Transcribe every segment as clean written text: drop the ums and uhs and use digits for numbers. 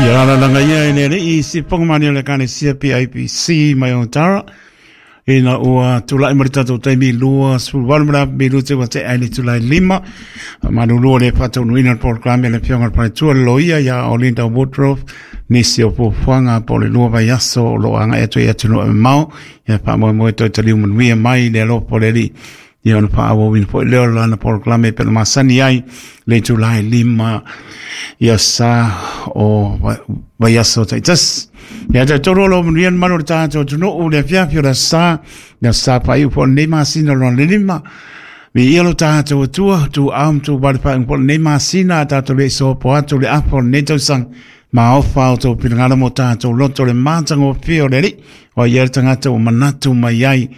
Ia alalaga ia e le alii sipoga mani o le Ekalesia PIPC mai Otara. Ina ua tulai mai le tatou taimi 28 ma le minute ua tea i le itula e 5. Faamalulu le faataunuuina o le polokalame a le Afioga i le Faletua le Loia ia Olinda Woodruff, nisi o fuafuaga po o le 2 vaiaso o lo o agai atu i atunuu e mamao. Ia faamoemoe toe taliu manuia mai le alofa o le Alii. Ia ona faaauauina foi lea o lana polokalame pe na masani ai le itula e 5 ia sa o vaiaso taitasi. Ia talitonu o lo o manuia le malu o le tatou atunuu le afiafi o le aso Sa, le aso Sa faaiu foi o lenei masina lona le 5. Viia lo tatou Atua, tuuau ma tuuvale faaiuga foi o lenei masina a tatou le i sopo atu le afa o lenei tausaga. Maofa o tou finagalo mo tatou loto le matagofie o le Alii, o ai le tagata ua manatu mai ai.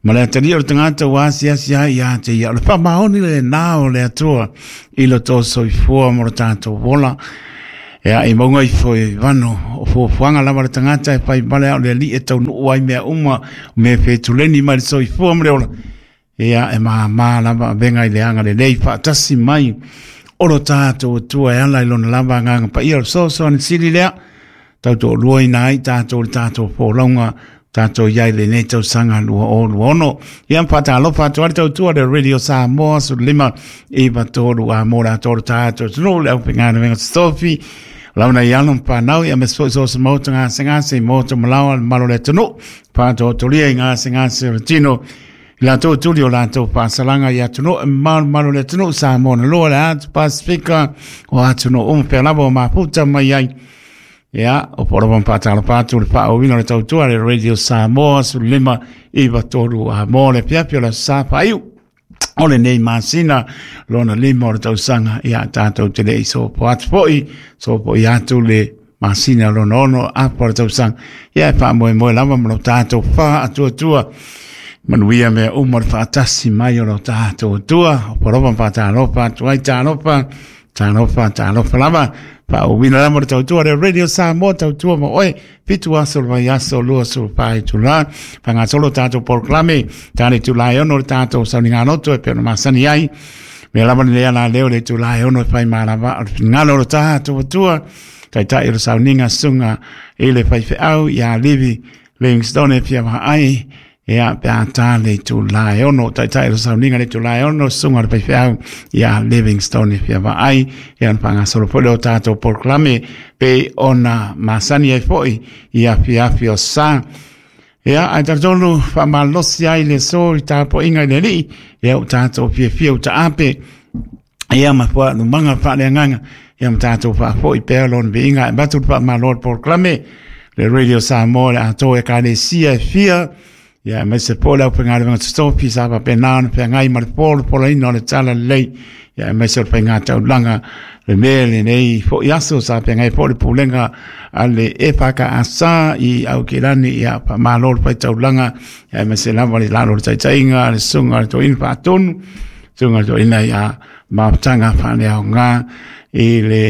Ma le atalii o le tagata ua asiasi ai ia te ia. O le faamaoni lena o le Atua i lo tou soifua mo lo tatou ola. Ea i mauga ifo i vano o fuafuaga lava le tagata e fai vale a o le Alii e taunuu ai mea uma, o mea fetuleni mai le soifua ma le ola. Ia, e māmā lava avega i le agalelei faatasi mai o lo tatou Atua e ala i lona lava agaga paia. O le fesoasoani sili lea, tau toaluaina ai tatou le tatou folauga tatou i ai i lenei tausaga 2026. Ia, ma faatalofa atu ai le tautua le Radio Samoa 15 93 a mo le atoa o le tatou atunuu, le aufaigaluega totofi, launa i alo ma fanau, ia aemaise foi so o se maota gasegase i maota malaoa le mamalu o le atunuu, faatoatolia i gasegase o le tino, i latou tuli o latou faasalaga i atunuu e mamao le atunuu Samoa na loa le atu Pasifika o atunuu uma pea lava o mafuta mai ai. Ia, o po lava whaatalofa atu le whaauina o le tautua le Radio Samoa 15 93 a mo le afiafi o le aso Sa faaiu o lenei masina lona 5 o le tausaga. Ia, tatou te le i sopo atu foi, sopo i atu le masina lona 6 afa o le tausaga. Ia, e faamoemoe lava ma lo tatou faatuatua manuia mea uma le faatasi mai o lo tatou Atua. O polofa ma faatalofa atu ai, talofa, talofa, talofa lava. Faauuina lava le tautua le Radio Samoa, tautua ma oe, 7 aso le vaiaso, 24 itula. Faagasolo tatou polokalame, tale itula e 6 le tatou sauniga loto e pei ona masani ai. Mea lava lenei ala leo le itula e 6 e fai malava o le finagalo o lo tatou Atua. Taitai o le sauniga susuga i le faifeau ia Livi Livingstone e fia vaai ia pe a tā le itula e 6. Taitai o le sauniga le itula e 6 susuga o le faifeau ia Livingstone e fia vaai. Ia ona faagasolo foi lea o tatou polokalame pei ona masani ai foi i afiafi o sa. Ia, ae talitonu faamalosi ai le aso i tapuaiga i le Alii, ia ua tatou fiafia ua taape. Ia ma faaumaga faaleagaga, ia ma tatou faafoi pea lona viiga e avatu le faamalo le polokalame le Radio Samoa le atoa Ekalesia e fia, ia aemaise foi le aufaigaluega totofi sa faapena ona feagai ma le polopolaina o le talalelei, ia aemaise o le faigataulaga le mea lenei foi aso sa feagai foi le pulega a le EFKS i Aukilani. Ia faamalo le faitaulaga, ia aemaise lava le lalo o le taitaiga a le susuga a le toeaina faatonu, susuga toeaina ia mafutaga faaleaoga i le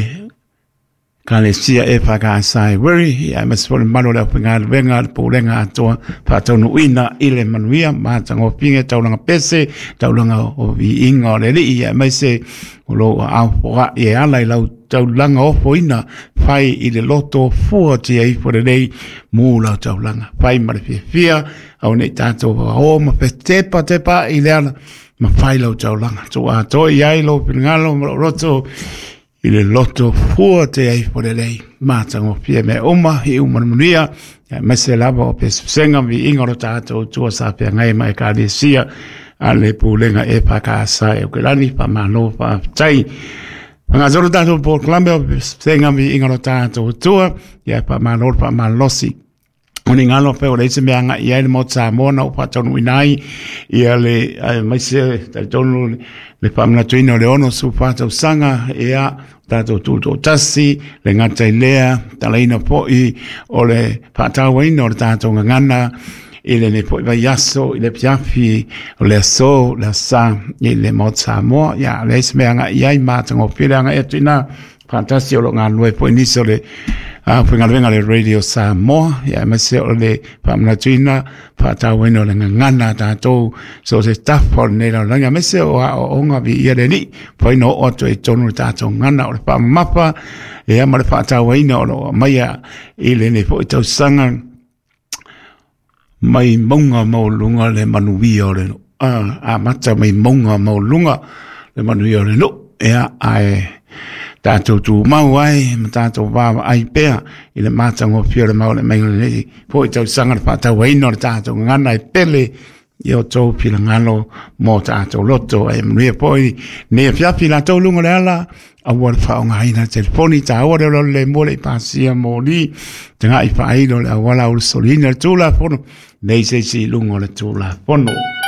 Ekalesia EFKS i Wiri, ia aemaise foi le mamalu o le aufaigaluega, le pulega atoa faataunuuina i le manuia matagofie taulaga pese, taulaga o viiga o le Alii, ia aemaise o lou aao foai e ala i lau taulaga ofoina, fai i le loto fua tia ifo lelei mu lau taulaga, fai ma le fiafia, aua nei tatou o ma fetepatepaai i le ala, ma fai lau taulaga. Tuu atoa i ai lou finagalo ma lou loto i le loto fua te ai fo lelei. Matagofie mea uma i uma le manuia, aemaise lava o pesepesega ma viiga o lo tatou Atua sa feagai ma Ekalesia a le pulega EFKS e Aukilani. Faamalo faafetai. Faagasolo tatou polokalame o pesepesega ma viiga o lo tatou Atua, ia faamalo le faamalosi. O ni galo pe o le isi mea agai i ai le Maota Samoa na ou faataunuuina ai ia le aemaise talitonu le faamanatuina o le 64 tausaga, ia tatou tutoatasi, le gata i lea, talaina foi o le faatauaina o le tatou gagana i lenei foi vaiaso i le afiafi o le aso le aso Sa i le Maota Samoa. Ia leai se mea agai i ai, matagofie le agai atu i ina faatasi o lo o galulue foi nisi o le Faigaluega a le Radio Samoa, ia aemaise o le faamanatuina faatauaina o le gagana a tatou so o se tafa o lenei lalolagi, aemaise o aoaoga viia le Alii mafai ona oo atu ai i totonu o le tatou gagana. O le faamamafa, ia, ma le faatauaina o lo o aumaia i lenei foi tausaga mai mauga maualuga le manuia o le amata mai mauga maualuga le manuia o le nuu, ia, ae tatou tumau ai ma tatou vaavaai pea i le matagofie o le mau le maiga lenei foi tausaga, le faatauaina o le tatou gagana e pele i o outou finagalo mo tatou loto. Ae manuia foi nei afiafi latou luga o le ala, aua le faaaogaina le telefoni taua le lola le mua le i pasia moli tagai faailo le auala ulusoliina le Tulafono, nei se isi i luga o le Tulafono.